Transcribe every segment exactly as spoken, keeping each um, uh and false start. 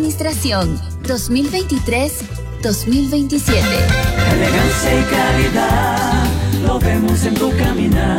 Administración dos mil veintitrés dos mil veintisiete. Elegancia y calidad, lo vemos en tu caminar.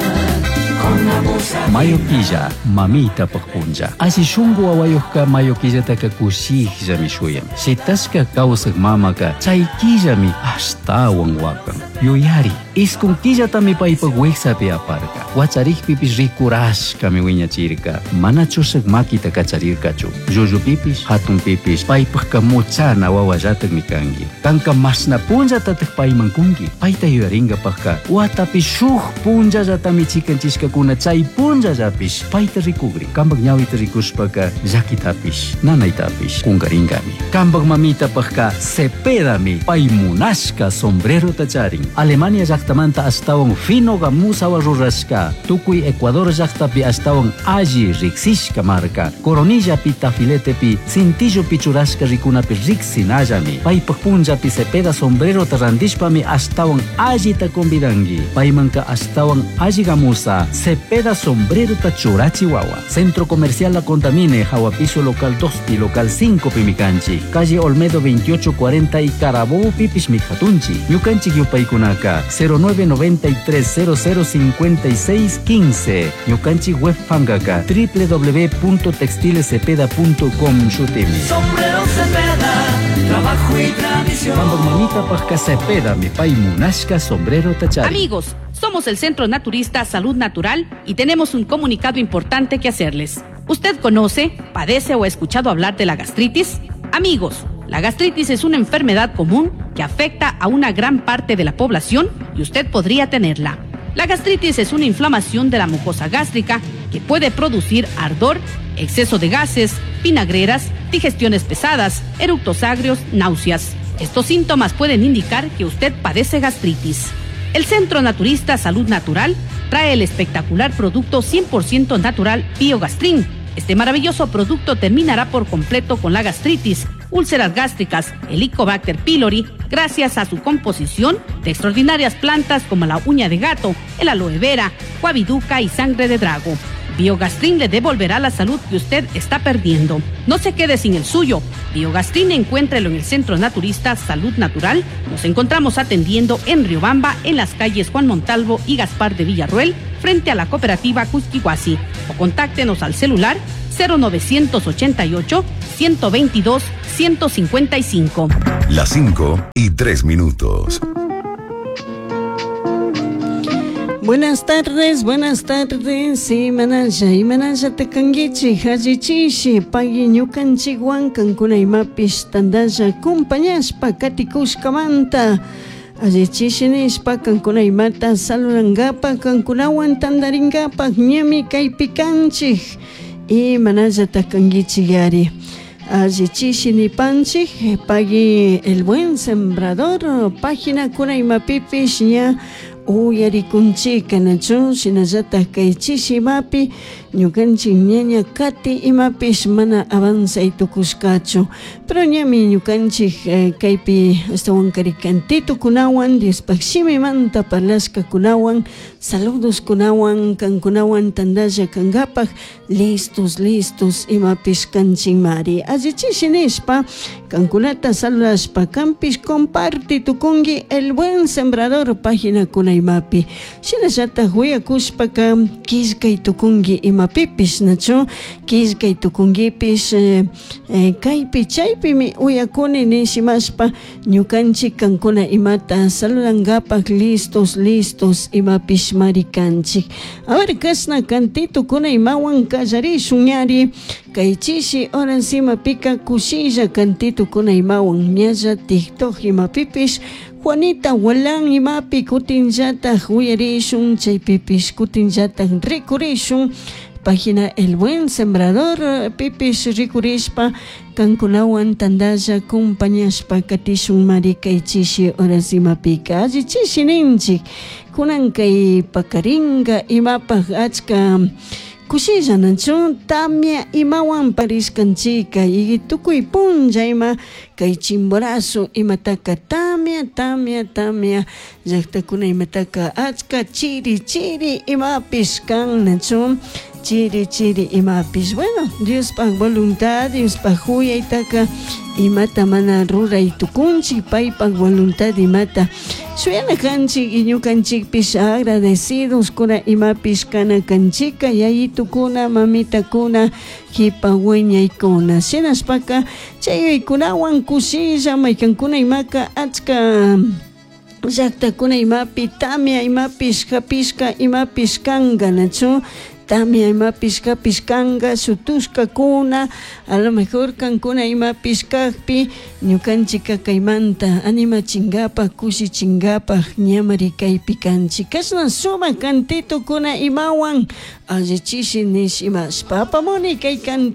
Mayo killa, mamitapaj punlla. Alli shunku wawayuqka mayo killataka kushikllami shuyan. Shitashka kawsaq mamaka chay killami ashtawan wakan. Yuyari, iskun killatami paypaq wiksapi aparka. Wacharikpipish rikurashkami wiñachirka. Mana chushak makita kacharirkachu. Llullupipish, hatunpipish, paypaqka muchana wawallatakmi kanki. Kanka mashna punllatataq payman kunki. Payta yuyarinkapaqka watapi shuk punllallatami chikanchishkakuna chay punllallapish payta rikugri. Kampak ñawita rikushpaka llakitapish, nanaytapish kunkarinkami. Kampak mamitapaqka Cepedami pay munashka sombrerota charin. Alemania llaqtamanta ashtawan fino gamusawa rurashka. Tukuy Ecuador llaqtapi ashtawan alli riksishka marka. Coronillapi, tafiletepi, cintillopi churashka rikunapi riksinallami. Paypaq punllapi Cepeda sombrerota randishpami ashtawan allita convidanki. Paymanka ashtawan alli gamusa Cepeda sombrerota churachi wawa. Centro Comercial La Contamine, Jahuapiso local dos y local cinco Pimicanchi. Calle Olmedo veintiocho cuarenta y Carabobo Pipish Mijatunchi. Ñukanchik yupaykunaka cero nueve noventa y tres cero cero cincuenta y seis quince. Ñukanchik web pankaka doble u doble u doble u punto textiles cepeda punto com shutimi. Sombrero Cepeda, trabajo y tradición. Cuando mamita pajka Cepeda, mi pay munashka sombrero tachari. Amigos, somos el Centro Naturista Salud Natural y tenemos un comunicado importante que hacerles. ¿Usted conoce, padece o ha escuchado hablar de la gastritis? Amigos, la gastritis es una enfermedad común que afecta a una gran parte de la población y usted podría tenerla. La gastritis es una inflamación de la mucosa gástrica que puede producir ardor, exceso de gases, vinagreras, digestiones pesadas, eructos agrios, náuseas. Estos síntomas pueden indicar que usted padece gastritis. El Centro Naturista Salud Natural trae el espectacular producto cien por ciento natural Biogastrin. Este maravilloso producto terminará por completo con la gastritis, úlceras gástricas, Helicobacter pylori, gracias a su composición de extraordinarias plantas como la uña de gato, el aloe vera, guaviduca y sangre de drago. Biogastrin le devolverá la salud que usted está perdiendo. No se quede sin el suyo. Biogastrin, encuéntrelo en el Centro Naturista Salud Natural. Nos encontramos atendiendo en Riobamba, en las calles Juan Montalvo y Gaspar de Villarruel, frente a la cooperativa Cusquihuasi. O contáctenos al celular cero novecientos ochenta y ocho, ciento veintidós, ciento cincuenta y cinco. Las cinco y tres minutos. Buenas tardes, buenas tardes, sí, manalla, y manalla te kanguichi, hajichishi, pagui ñukanchik wankankuna imapish tandalla, compañashpa katikushkamanta, allichishi nishpa kankuna imata saludangapa, kankunawan tandaringapa, ñami kaypi kanchik, y manalla takanguichi yari. Allichishi nipanchik, pagui el buen sembrador, página kuna imapipish ña uyarikunchika nachu shinallatak kay chishi imapi ñukanchik ñaña kati imapish mana avanzay tukushkachu pero ñami ñukanchik eh, kaypi ashtawan kari kantitukunawan Diospaj shimimanta parlashkakunawan saludos kunawan kankunawan tandalla kankapak listos listos imapish kanchikmari allichishi nishpa kankunata saludashpa kanpish comparti tukunki el buen sembrador página kuna imapi shinallatak uyakushpaka killkay tukunki imapipish nachu killkay tukunkipish eh, eh, kaypi chaypimi uyakuni nishimashpa ñukanchik kankuna imata saludankapak listos listos imapish mari kanchik. A ver kashna kantitukuna imawan kallarishun ñari kay chishi horas imapika kushilla kantitukuna imawan ñalla TikTok imapipish Juanita Walán imapi kutinllatak uyarishun chaypipish kutinllatak rikurishun página El Buen Sembrador pipish rikurishpa kankunawan tandalla compañashpa katishun mari kay chishi horas imapika alli chishi ninchik kunan kay pakaringa imapaj achka kushilla nachu tamia imawan parishkanchika y tukuy punlla ima kay Chimborazo imataka tamia tamia tamia llaqtakuna imataka achka chiri chiri imapish kan nachu Chiri chiri imapish. Bueno, Diospaj voluntad, Diospaj huyaytaka imata mana ruray tukunchik, paypaj voluntad imata shuyana kanchik y ñukanchikpish agradecidos kuna imapish kana kanchika yayitukuna mamitakuna kipa wiñaykuna shinashpaka chay yuyaykunawan kushilla maykankuna imaka achka llaktakuna imapi tamia imapish hapishka imapish kanka nachu tamia imapish hapish kanka shutushkakuna a lo mejor kankuna imapish kakpi ñukanchika kaymanta animachinkapak kushichinkapak ñamari kaypi kanchik kashna sumak cantitokuna imawan allichishi nish imashpa apamuni kay cantito.